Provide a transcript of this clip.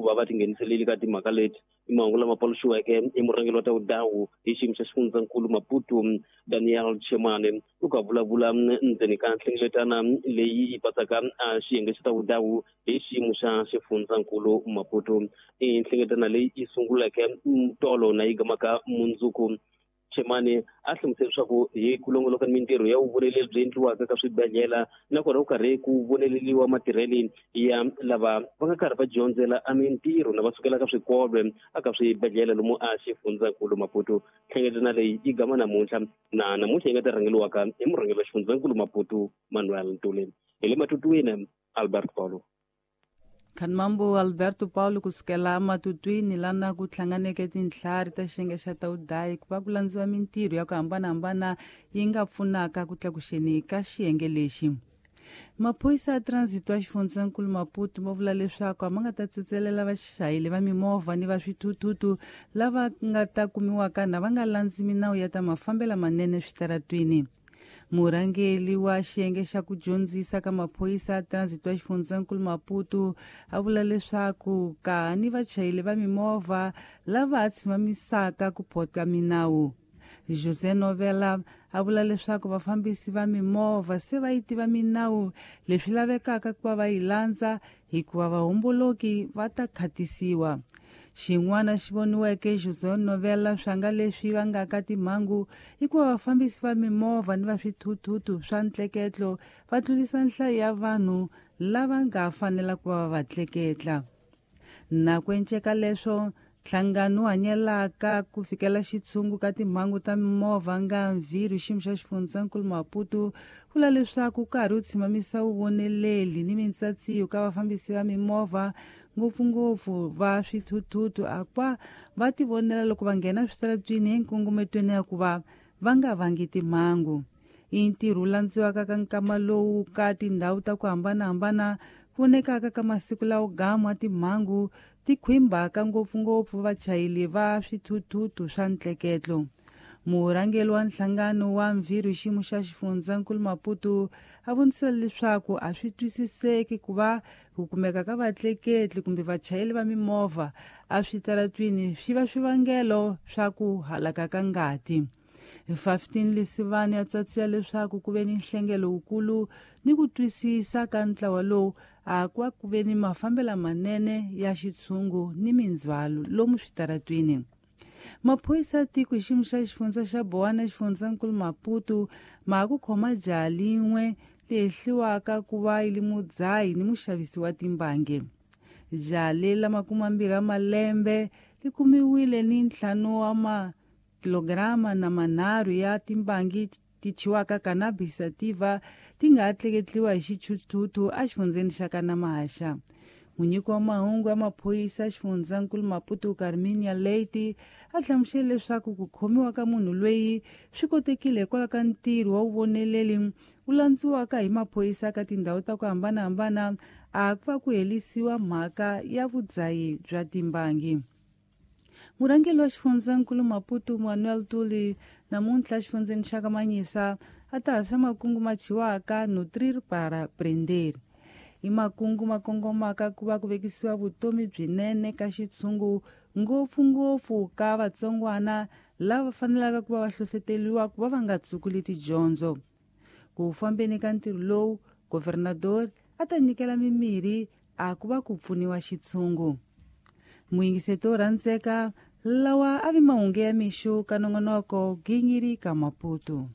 ku va va tingheniseleli ka timhaka leti. I mahungu lama paluxiweke hi murhangeri wa ta vudawu hi xiyimo xa xifundzankulu Maputo Daniel Chemane loko a vulavula ndzeni ka nhlengeletana leyi yi patsaka a xiyenge xa ta vudawu hi xiyimo xa xifundzankulu Maputo. I nhlengeletana leyi yi sunguleke tolo na yi gamaka mundzuku. Chemane a hlamusela leswaku hi ku longoloka ni mintirho ya vuvoneleli byi endliwaka ka swibedhlele nakona ku karhi ku voneleliwa matirheli ya lava va nga karhi va dyondzela a mintirho na va sukela ka swikolo aka swibedhlele lomu a xifundzankulu Maputo. Nhlengeletano leyi yi gama namuntlha na namuntlha yi nga ta rhangeliwaka hi murhangeri wa xifundzankulu Maputo Manuel Ntuli. Hi le Matutwini, Albert Paulo. Khanmambo Alberto Paulo kusukela Matutwini lana ku hlanganeke tintlhari ta xiyenge xa Taudayi ku va ku landziwa mintirho ya ku hambanahambana yi nga pfunaka ku tlakuxeni ka xiyenge lexi. Maphorisa ya transit wa xifundzankulu Maputo ma vula leswaku a ma nga ta tsetselela vachayeri va mimovha ni va swithuthuthu lava nga ta kumiwaka na va nga landzi minawu ya ta mafambelo manene switaratwini. Murhangeri wa xiyenge xa ku dyondzisa ka maphorisa ya transit wa xifundzankulu Maputo a vula leswaku ka ni vachayeri va mimovha lava tshimamisaka ku phota minawu. José Novela a vula leswaku vafambisi va mimovha se va yi tiva minawu leswi lavekaka ku va va yi landza hikuva vahomboloki va ta khatisiwa. Xin'wana xi voniweke José Novela swa nga leswi vangaka timhangu i ku va vafambisi va mimovha ni va swithuthuthu swa ntleketlo va tlurisa nhlayo ya vanhu lava nga fanela ku va va tleketla. Na ku enceka leswo nhlangano wu hanyelaka ku fikela xitshungu ka timhangu ta mimovha nga mvhirhu xiyimo xa xifundzankulu Maputo vula leswaku karhi wu tshimamisa vuvoneleli ni mintsatsiyo ka vafambisi va mimovha ngopfungopfu va swithuthuthu akwa va tivonela loko va nghena switaratwini enkongometweni ya ku va va nga vangi timhangu. I ntirho wu landziwaka ka nkama lowu ka tindhawu ta ku hambanahambana vonekaka ka masiku lawo gama timhangu ti khwimbaka ngopfungopfu vachayeri va swithuthuthu swa ntleketlo. Murhangeri wa nhlangano wa mvhirhu xiyimo xa xifundzankulu Maputo a vonisela leswaku a swi twisiseki ku va ku kumeka ka vatleketli kumbe vachayeri va mimovha a switaratwini swi va swivangelo swa ku halaka ka ngati. Hi 15 Lisivani ya tsatsiya leswaku ku ve ni nhlengelo wukulu ni ku twisisa ka ntlawa lowu a kwa ku ve ni mafambelo manene ya xitshungu ni mindzhwalo lomu switaratwini. Maphorisa ya tiko hi xiyimo xa xifundza xa Bowana xifundzankulu Maputo ma ku khoma jaha lin'we lehliwaka ku va yi li mudzahi ni muxavisi wa timbangi. Jaha leri la 20 ya malembe li kumiwile ni 5 wa makilograma na 3 ya timbangi ti thyiwaka cannabis sativa ti nga tleketliwa hi xithuthuthu exifundzeni xa Kanamahaxa. Munyiki wa mahungu ya maphorisa xifundzankulu Maputo Carminia Leite a hlamusele leswaku ku khomiwa ka munhu loyi swi kotekile hikwalaho ka ntirho wa vuvoneleli wu landziwaka hi maphorisa ka tindhawu ta ku hambanahambana a ku va ku herisiwa mhaka ya vudzahi bya timbangi. Murhangeri wa xifundzankulu Maputo Manuel Tuli namuntlha xifundzeni xa Kamanyisa a ta hasa makungu ma thyiwaka Nutrir para Prender. I makungu ma kongomaka ku va ku vekisiwa vutomi byinene ka xitshungu ngopfungopfu ka vatsongwana lava fanelaka ku va va hlohloteriwa ku va va nga tsukuli tidyondzo. Ku fambeni ka ntirho lowu, governador a ta nyikela mimirhi a ku va ku pfuniwa xitshungu. Muyingiseti wo rhandzeka lawa a vi mahungu ya mixo ka nongonoko Gingiri ka Maputo.